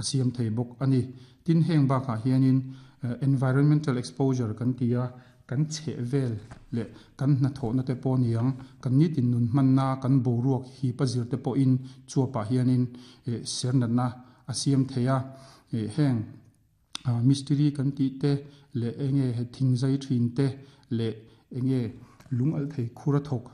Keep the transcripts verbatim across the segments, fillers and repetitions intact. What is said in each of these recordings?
a siam thei bawk ani. Tin, heng bakah hianin environmental exposure kan ti a, kan chheh vel leh kan hnathawhna te pawh niang, kan nitin nun hmanna kan boruak hip a zir te pawhin chuapah hianin ser natna a siam thei a. Heng mistiri kan tih te leh enge he thing zai thin te leh enge lung al thei khura thawk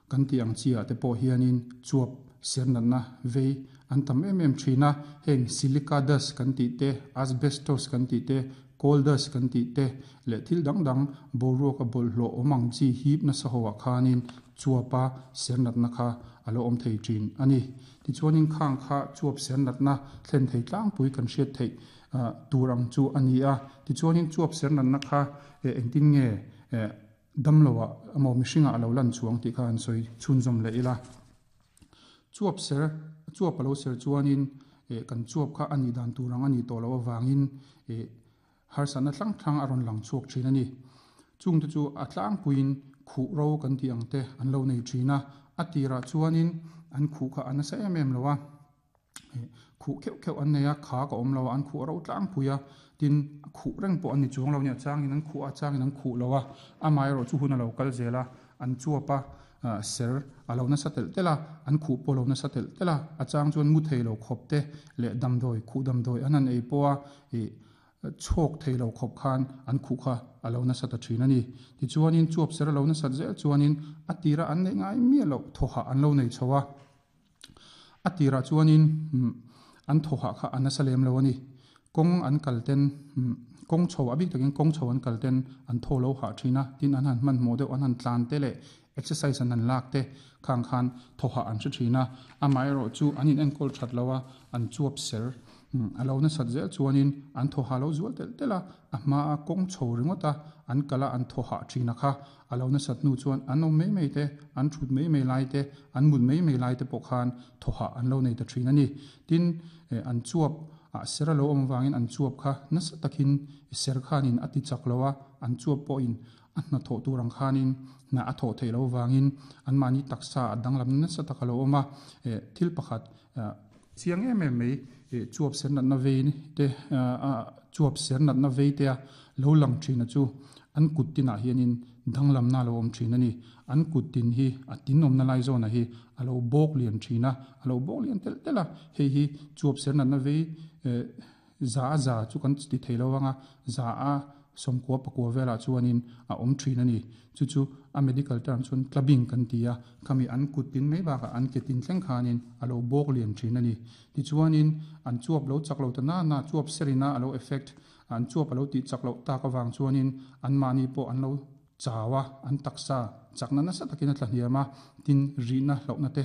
kan tih ang chi ah te pawh hianin chuap ser natna vei an tam em em thin a. Heng silica dust kan tih te, asbestos kan tih te, coal dust kan tih te leh thil dang dang boruak a bawlhhlawh awm ang chi hip nasa ho ah khanin chuapa ser natna kha a lo awm thei thin ani. Tichuanin khang kha chuap ser natna thlen thei tlangpui kan hriat theih tur ang chu ani a. Tichuanin chuap ser natna kha engtin nge damloah emaw mihringah a lo lan chuang tih kha an sawi chhunzawm leh ila. Chuap ser chuap a lo ser chuanin kan chuap kha ani dan tur ang ani tawh loh avangin harsatna tlang tlang a rawn lang chhuak thin ani. Chung te chu a tlangpuiin khuh ro kan tih ang te an lo nei thin a. A tirah chuanin an khuh kha a nasa em em lo a, khuh kheuh kheuh an nei a, kha ka awm lo a, an khuh ro tlangpui a. Tin, khuh reng pawh an ni chuang lo nia, changin an khuh a, changin an khuh lo a. Amaherawh chu hun a lo kal zel a, an chuap a ser a lo nasa telh telh a, an khuh pawh lo nasa telh telh a. A chang chuan mu thei lo khawp te leh damdawi khuh damdawi an han ei pawh a, chhawk thei lo khawp khan an khuh kha a lo nasa ta thin ani. Tichuanin chuap ser a lo nasat zel chuanin a tira an neih ngai miah loh thawhah an lo nei chho a. A tirah chuanin an thawhah kha a nasa lem lo ani. Kawng an kal ten, kawng chho a bik takin kawng chho an kal ten an thaw lo hah thin a. Tin, an han hmanhmawh deuh an han tlan te leh exercise an han lak te khang khan thawhah an hre thin a. Amaherawh chu an in enkawl that lo a, an chuap ser a lo nasat zel chuanin an thawhah lo zual telh telh a. A hma a kawng chho ringawt a an kal a, an thawhah thin a kha a lo nasat hnu chuan an awm mai mai te, an thut mai mai lai te, an mut mai mai lai te pawh khan thawhah an lo nei ta thin ani. Tin, an chuap a ser a lo awm avangin an chuap kha nasa takin ser khanin a ti chak lo a, an chuap pawhin a hna thawh tur ang khanin hna a thawh theih loh avangin an mahni taksa a danglam nasa tak a lo awm a. Thil pakhat chiang em em mai, chuap ser natna vei te, chuap ser natna vei te a lo lang thin a chu an kut tinah hianin danglamna a lo awm thin ani. An kut tin hi a tin awmna lai zawnah hi a lo bawk lian thin a, a lo bawk lian telh telh a. Hei hi chuap ser natna vei za a za chu kan ti thei lo anga, za a sawmkua pakua velah chuanin a awm thin ani. Chu chu a medical term chuan clubbing kan ti a. Khami an kut tin mai bakah an ke tin thleng khanin a lo bawk lian thin ani. Tichuanin an chuap lo chak lo ta na na chuap serina a lo effect, an chuap a lo tih chak loh tak awang chuanin an mahni pawh an lo chawa, an taksa chakna nasa takin a tla hniam a. Tin, rihna hlauhna te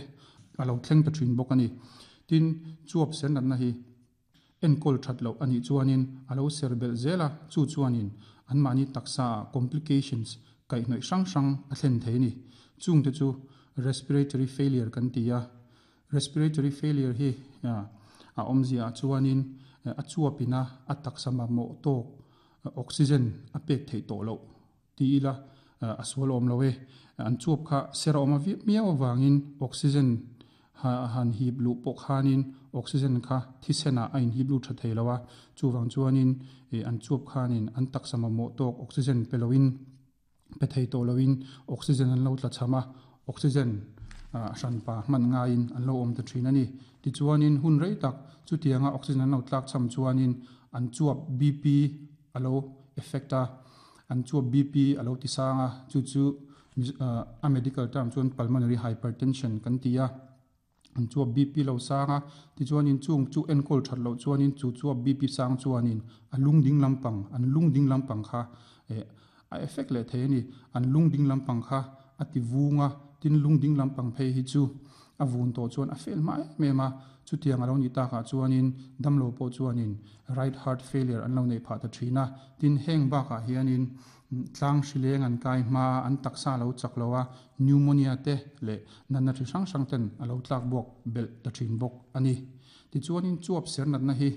a lo thleng ta thin bawk ani. Tin, chuap ser natna hi enkawl that loh ani chuanin a lo ser belh zel a, chu chuanin an mahni taksa complications kaihhnawih hrang hrang a thlen thei ani. Chung te chu respiratory failure kan ti a. Respiratory failure hi a awmzia chuanin a chuapina a taksa mamawh tawk oxygen a pek theih tawh loh ti ila a sual awm lo e. An chuap kha ser a awm a miau awangin oxygen han hip luh pawh khanin oxygen kha thisenah a in hip lut tha thei lo a. Chuwang chuanin an chuap khanin an taksa mamawh tawk oxygen pe loin pe thei tawh loin oxygen an lo tla cham a, oxygen hranpa hman ngaiin an lo awm ta thin ani. Tichuanin hun rei tak chutianga oxygen an lo tlak cham chuanin an chuap B P a lo effect a, an chuap B P a lo tisang a. Chu chu a medical term chuan pulmonary hypertension kan ti a. An chuap B P lo sang a, tichuanin chung chu enkawl that loh chuanin chu chuap B P sang chuanin a lung ding lampang, an lung ding lampang kha a effect leh thei ani. An lung ding lampang kha a ti vunga, tin lung ding lampang phei hi chu a vun tawh chuan a fel hma em em a. Chutiang a lo ni takah chuanin damlo pawh chuanin right heart failure an lo nei phah ta thin a. Tin, heng bakah hianin tlang hrileng an kai hma, an taksa lo chak lo a, pneumonia te leh natna thi hrang hrang ten a lo tlak buak belh ta thin bawk ani. Tichuanin chuap ser natna hi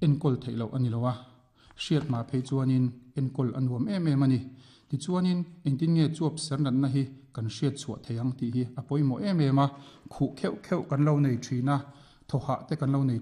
enkawl theih loh ani lo a, hriat ma phei chuanin enkawl a nuam em em ani. Tichuanin engtin nge chuap ser natna hi kan hriat chhuah thei ang tih hi a pawimawh em em a. Khuh kheuh kheuh kan lo nei thin a, thawhah te kan lo nei